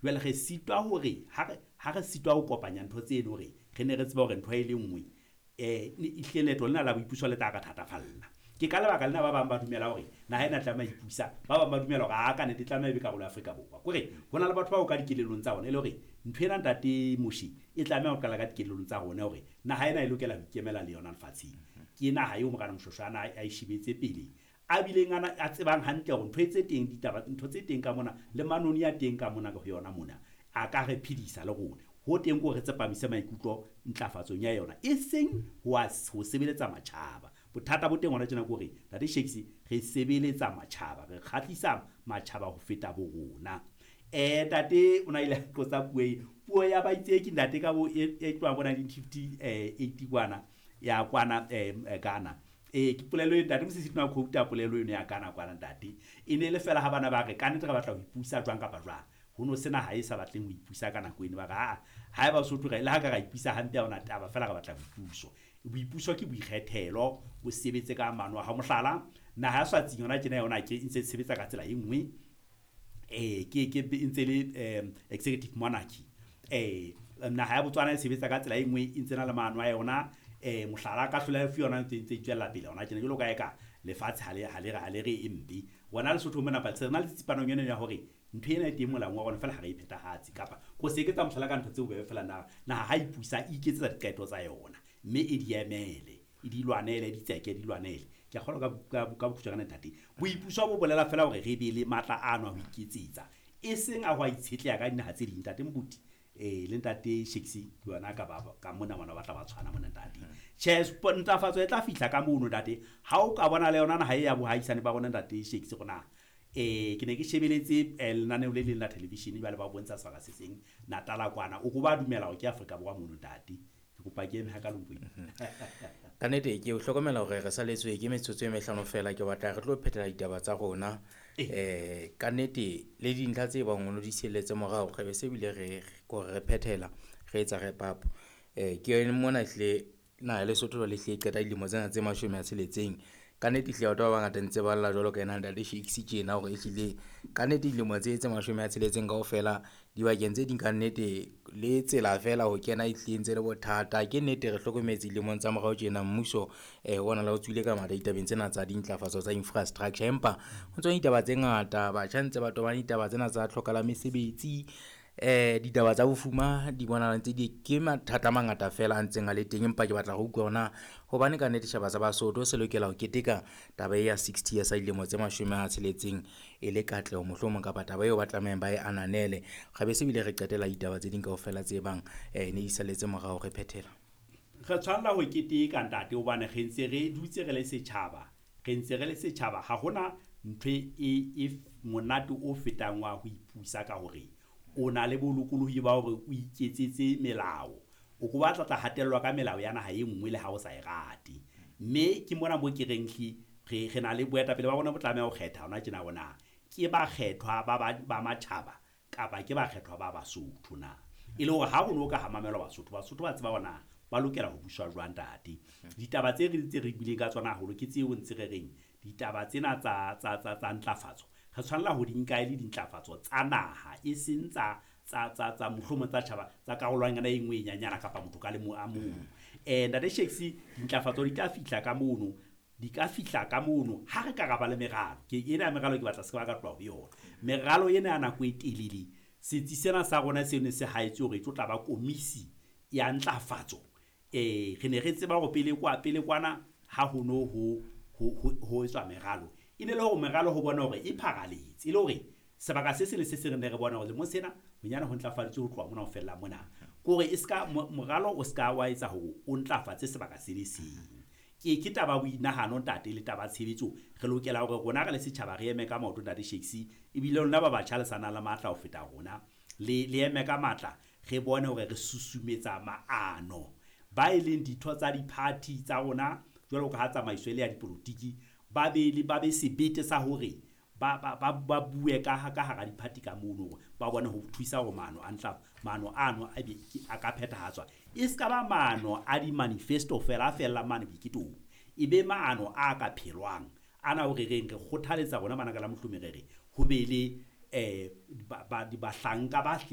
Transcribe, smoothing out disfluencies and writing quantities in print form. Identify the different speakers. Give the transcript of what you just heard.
Speaker 1: Jwale re sitwa hore ha re sitwa ho kopanya ntho tseno hore re ne re tseba hore ntho e le nngwe, ehlile leeto lena la boipuso le tla re thatafalla. Ke ka lebaka lena ba bang ba dumela hore naha ena e tlameha ho ipusa, ba bang ba dumela hore a ka nnete e tlameha e be karolo ya Afrika Borwa. Kore hona le batho bao ka dikelellong tsa bona e le hore ntho ena ntate Moshe e tlameha ho qala ka dikelellong tsa rona hore naha ena e lokela ho ikemela le yona lefatsheng. Ke naha eo Morena Moshoeshoe ana a e shebetse pele, a bileng a tsebang hantle hore ntho e tse teng ditaba, ntho tse teng ka mona le manoni a teng ka mona ho yona mona a ka re phedisa le rona. Ho teng ko re tsepamise maikutlo ntlafatsong ya yona, e seng ho sebeletsa matjhaba. Bothata bo teng hona tjena ke hore ntate Shakes re sebeletsa matjhaba, re kgahlisa matjhaba ho feta bo rona. Ntate o na ile a qotsa puo e, puo ya baitseki ntate ka bo e tloha bo 1958 kwana ya kwana Ghana. Ke polelo e ntate Mosisi tena quote polelo eno ya Ghana kwana ntate. E ne le fela ha bana ba re ka nnete re batla ho ipusa jwang kapa jwang. Ho no sena ha e sa batleng ho ipusa ka nako eno, ba re aa ha eba Sotho re le ha ka ra ipusa hampe ha ona taba, fela re batla boipuso. Boipuso ke boikgethelo, o sebetse ka mano a hao. Mohlala, naha ya Swatsing yona tjena yona ke ntse e sebetsa ka tsela e nngwe, ke ntse le executive monarchy. Naha ya Botswana e sebetsa ka tsela e nngwe, e ntse na le maano a yona. Mohlala ka hlola e yona ntse e tswella pele hona tjena, jwalo ka eka lefatshe ha le re e mpe. Rona Lesotho mona re na le tsipanong ena ya hore ntho ena e teng molaong wa rona fela ha re e phethahatse, kapa ko se eketsa mohlala ka ntho tse bobebe fela. Naha ha ipusa e iketsetsa diqeto tsa yona, mme e di emele, e di lwanele, di tseke, di lwanele. Ke a kgolwa ka bokgutshwanyane ntate. Boipuso bo bolela fela hore re be le matla ano a ho iketsetsa, e seng a ho a itshetleha ka dinaha tse ding. Ntate Moruti le ntate Shakes ke yona ka ba ka mona bona ba tla ba tshwana mona ntate. Tjhe, ntlafatso e tla fihla ka mono ntate. Ha o ka bona le yona naha e ya bohaisane ba rona ntate Shakes rona. Ke ne ke shebeletse lenaneo le leng la television jwale ba bontsha sebaka se seng Natala kwana. O ko ba dumela hore ke Afrika Borwa mono ntate. Ke kopa ke eme ha ka lompeng.
Speaker 2: Ka nnete ke o hlokomela hore re saletswe ke metsotso e mehlano fela, ke batla re tlo phethela ditaba tsa rona. Ka nnete le dintlha tse bang o di sielletse morao, re be se bile re kore re phethela re etsa wrap up. Ke mona ehlile naha ya Lesotho jwale ehlile e qeta dilemo tsena tse 60. Ka nnete ehlile batho ba bangata ntse ba lla jwalo ka ena ntate Shakes tjena hore ehlile ka nnete dilemo tse 60 kaofela dibakeng tse ding ka nnete le tsela fela ho kena ehlile ntse le bothata. Ke nnete re hlokometse dilemong tsa morao tjena mmuso ona la o tswile ka matla ditabeng tsena tsa dintlafatso tsa infrastructure, empa ho tswa ditaba tse ngata, batjha ntse ba tobane ditaba tsena tsa tlhoka la mesebetsi, ditaba tsa bofuma di bonahala ntse di ke mathata a mangata fela a ntseng a le teng. Empa ke batla ho utlwa hore na hobane ka nnete setjhaba sa Basotho se lokela ho keteka taba e ya 60 years dilemo tse 60 e le katleho mohlomong, kapa taba eo ba tlamehang ba e ananele. Re be se bile re qetela ditaba tse ding kaofela tse bang ne di salletse morao re phethela.
Speaker 1: Re tshwanela ho keteka ntate, hobane re ntse re dutse re le setjhaba, re ntse re le setjhaba. Ha hona ntho e monate o fetang wa ho ipusa ka hore o na le bolokolohi ba hore o iketsetse melao. O ko batla tla hatellwa ka melao ya naha e nngwe le ha o sa e rate. Mme ke mona mo ke reng re na le boetapele ba rona bo tlameha ho kgetha hona tjena hore na ke bakgethwa ba matjhaba kapa ke bakgethwa ba Basotho na. E le hore ha ho no ka ha mamelwa Basotho, Basotho ba tseba hore na ba lokela ho buswa jwang ntate. Ditaba tse re ntse re buileng ka tsona haholo ke tseo ntse re reng ditaba tsena tsa ntlafatso re tshwanela ho di nka e le dintlafatso tsa naha, e seng tsa mohlomong tsa tjhaba tsa karolwana e nngwe e nyanyana kapa motho ka le mo a mong. Ntate Shakes, dintlafatso di tla fihla ka mono, di ka fihla ka mono ha re ka ra ba le meralo. Ke ena ya meralo ke batla se ka ba ka tloha ho yona. Meralo ena ya nako e telele, setsi sena sa rona se ne se haetse hore e tlo tla ba komisi ya ntlafatso. Re ne re tseba hore pele kwana ha ho no ho etswa meralo, e ne le hore meralo ho bona hore e pharaletse, e le hore sebaka se seng le se seng re ne re bona hore lemong sena bonyane ho ntlafaditswe ho tloha mona ho fella mona. Ke hore e ska moralo o ska wa etsa hore o ntlafatse sebaka se le seng. Ke taba ya boinahano ntate le taba ya tshebetso. Re lokela hore rona re le setjhaba re eme ka maoto ntate Shakes, ebile lona ba batjha le sa nang le matla ho feta rona, le eme ka matla, re bone hore re susumetsa maano. Ba e leng ditho tsa di-party tsa rona jwalo ka ha tsamaiso e le ya dipolotiki, ba be sebete sa hore ba bue ka hara di-party ka mono, hore ba bone ho thusa hore maano a ntla, maano ano a be a ka phethahatswa. E ska ba maano a di-manifesto fela a fellang mane boiketong, e be maano a ka phelwang. Ana hore re reng re kgothaletsa rona bana ka la mohlomi re re ho be le bahlanka ba